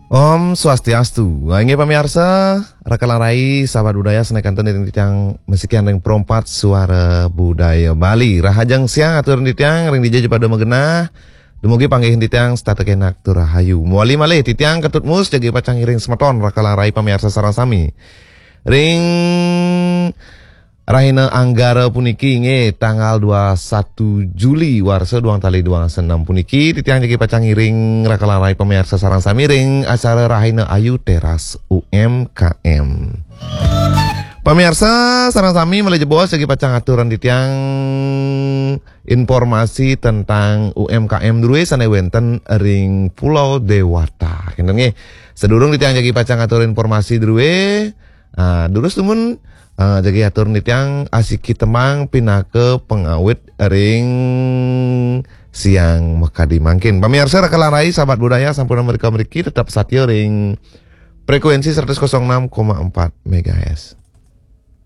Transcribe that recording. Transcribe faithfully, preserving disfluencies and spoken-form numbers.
Om Swastiastu. Inggih pamiarsa, raka lan rai, sahabat budaya, sané kantun ring titiang masikian ring Pro empat Suara Budaya Bali. Rahajeng siang atur titiang ring dija ja pada magenah. Dumugi panggih titiang setata kenak tur rahayu. Mawali malih titiang Ketut Mus jagi pacang ngiring semeton raka lan rai pamiarsa sareng sami. Ring rahina Anggara puniki, inggih tanggal dua satu Juli warsa duang tali duang dasa enam puniki, titiang jagi pacang ngiring raka lan rai pamiarsa sareng sami ring acara Rahina Ayu Teras U M K M. Pamiarsa sareng sami, malih jebos jagi pacang aturan titiang informasi tentang U M K M drué sané wénten ring Pulau Dewata. Kénten nggih. Sadurung titiang jagi pacang atur informasi drué, ah, durus dumun, ah, jagi atur titiang asiki tembang pinaka pangawit ring siang makadi mangkin. Pamiarsa raka lan rai, sahabat budaya, sampun mrika mriki tetep satia ring frekuensi seratus kosong enam koma empat megahertz.